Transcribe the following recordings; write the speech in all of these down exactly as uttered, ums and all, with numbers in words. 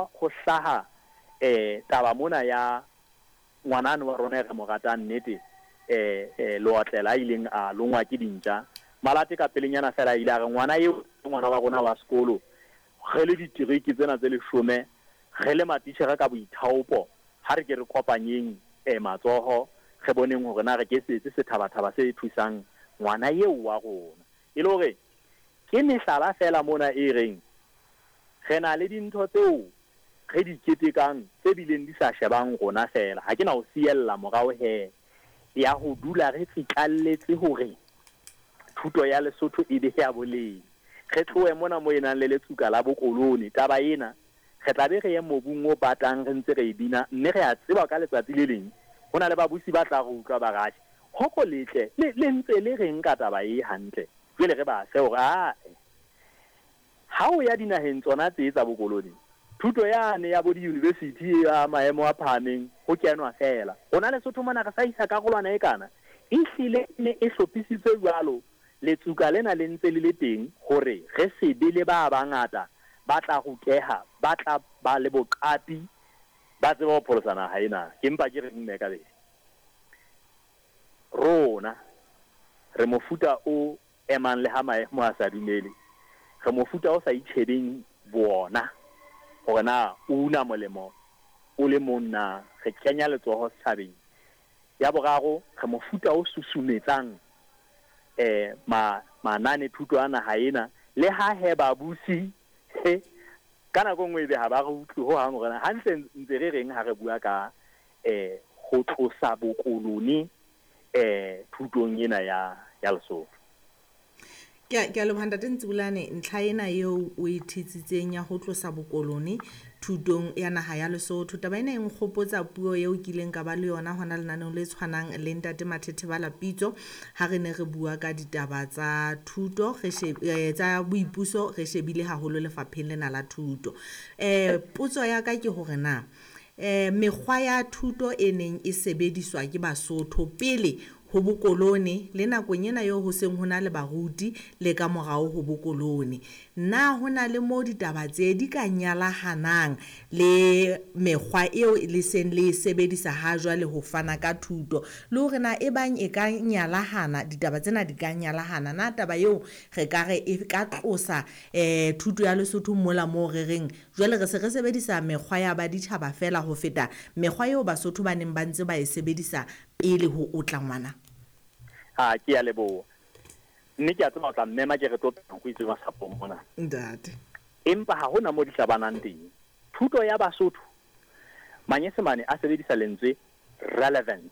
ho hlaha eh taba mona ya ngwanane wa rona e re mo ratang nnete eh eh Leotlela a ileng a longwa ke dintja. Malate ka pelenyana fela a ile a re ngwana eo ke ngwana wa rona wa sekolo, re le ditereke tsena tse leshome, re le matitjhere ka boithaopo, ha re ke re kopanyeng eh matsoho, re boneng hore na re ke se etse sethabathaba se thusang ngwana eo wa rona. E le hore ke mehlala fela mona e reng re na le dintho tseo re di ketekang tse bileng di sa shebang rona fela. Ha ke na ho siella morao he ya ho dula re tsitlalletse hore thuto ya Lesotho e be ya boleng. Re tlohe mona mo e nang le letsuka la bokolone. Taba ena re tla be re ye mobung o batang re ntse re e bina, mme re a tseba ka letsatsi le leng ho na le babusi ba tla re utlwa ba re, atjhe, hoko letle le, le ntse le reng ka taba e hantle. Jwale re ba fe hore ae, ha o ya dinaheng tsona tse tsa bokolone, thuto yane ya bo di-university ya maemo a phahameng ho kenwa fela. Rona Lesotho mona re sa isa karolwana e kana, ehlile e ne e hlophisitswe jwalo, letsuka lena le ntse le le teng hore re se be le ba bangata ba tla ruteha, ba tla ba le boqapi, ba tsebe ho pholosa naha ena. Ke mpa ke reng mme ka bele, rona re mofuta o emang le ha maemo a sa dumele, re mofuta o sa itjhebeng bona hore na o una molemo o le mong na, re kenya letsoho setjhabeng. Ya boraro, re mofuta o susumetsang eh ma manane thuto a naha ena, le ha he babusi he ka nako nngwe ebe ha ba re utlwe ho hang hore na hantle ntse re reng ha re bua ka eh ho tlosa bokolone eh thutong ena ya ya Lesotho. Ke a, ke a leboha Ntate Ntsibulane, ntlha ena eo o e thitsitseng ya ho tlosa bokolone thutong ya naha ya Lesotho. Taba ena e nkgopotsa puo eo kileng ka ba le yona hona lenaneong le tshwanang le Ntate Mathethebala Pitso ha re ne re bua ka ditaba tsa thuto, re sheb-, eh, tsa boipuso, re shebile haholo lefapheng lena la thuto. Eh, potso ya ka ke hore na eh, mekgwa ya thuto e neng e sebediswa ke Basotho pele ho bokolone le nakong ena eo ho seng ho na le baruti le ka morao ho bokolone, na ho na le moo ditaba tse di ka nyalahanang le mekgwa eo le seng le e sebedisa ha jwale ho fana ka thuto, le hore na e bang e ka nyalahana, ditaba tsena di ka nyalahana, na taba eo re ka re e ka tlosa, eh, thuto ya Lesotho mola moo re reng jwale re se re sebedisa mekgwa ya baditjhaba fela ho feta mekgwa eo Basotho ba neng ba ntse ba e sebedisa pele ho otla ngwana? Ha, ke a leboha. Mme ke a tseba o tla mmema ke re tlo pheha nku e tswe masapong mona. Ntate. Empa ha hona mo di hlabanang teng. Thuto ya Basotho, Manyesemane a sebedisa lentswe relevance.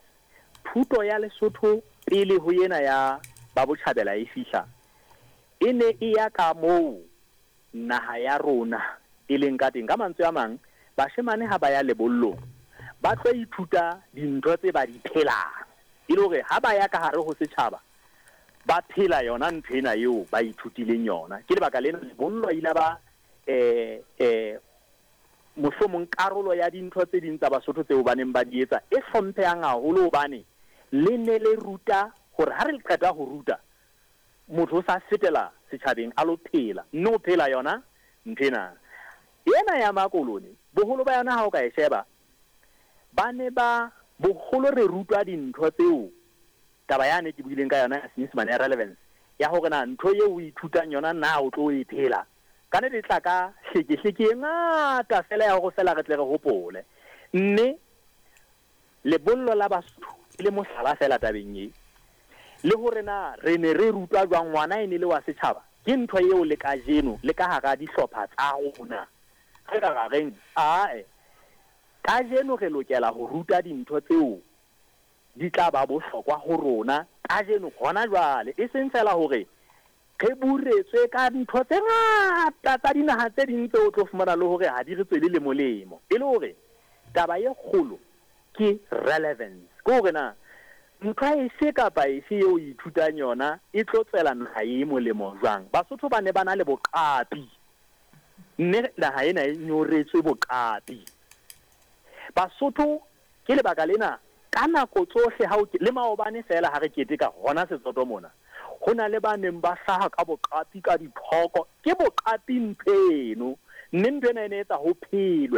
Thuto ya Lesotho pele ho ena ya ba botjhabela e fihla, e ne e ya ka moo naha ya rona e leng ka teng. Ka mantswe a mang, bashemane ha ba ya lebollong ba tlo ithuta dintho tse ba di phelang, e le hore ha ba ya ka hare ho setjhaba ba phela yona ntho ena eo ba ithutileng yona. Ke lebaka lena lebollo ile ba, eh, eh, mohlomong karolo ya dintho tse ding tsa Basotho tseo ba neng ba di etsa e hlomphehang haholo, hobane le ne le ruta hore ha re qeta ho ruta motho o sa fetela setjhabeng a lo phela, mme o phela yona ntho ena. Ena ya makolone boholo ba yona ha o ka e sheba, ba ne ba boholo re rutwa dintho tseo taba yane ke buileng ka yona ya Senyesemane ya relevance, ya hore na ntho eo o ithutang yona na o tlo e phela. Ka nnete e tla ka hlekehleke e ngata fela ya hore fela re tle re hopole. Mme lebollo la Basotho e le mohlala fela tabeng e, le hore na re ne re rutwa jwang ngwana e ne le wa setjhaba, ke ntho eo le kajeno le ka hara dihlopha tsa rona re ka ra reng ae, kajeno re lokela ho ruta dintho tseo di tla ba bohlokwa ho rona kajeno hona jwale, e seng fela hore re buretswe ka ntho tse ngata tsa dinaha tse ding tseo o tlo fumana le hore ha di re tswele le molemo. E le hore taba e kgolo ke relevance, ke hore na ntho efe kapa efe eo o ithutang yona e tlo tswela naha e molemo jwang. Basotho ba ne ba na le boqapi, mme naha ena e nyoretswe boqapi. Basotho ke lebaka lena ka nako tsohle ha o ke, le maobane fela ha re keteka hona Setsoto mona, ho na le ba neng ba hlaha ka boqapi ka dithoko. Ke boqapi ntho eno, Mme ntho ena e ne etsa ho phelwe.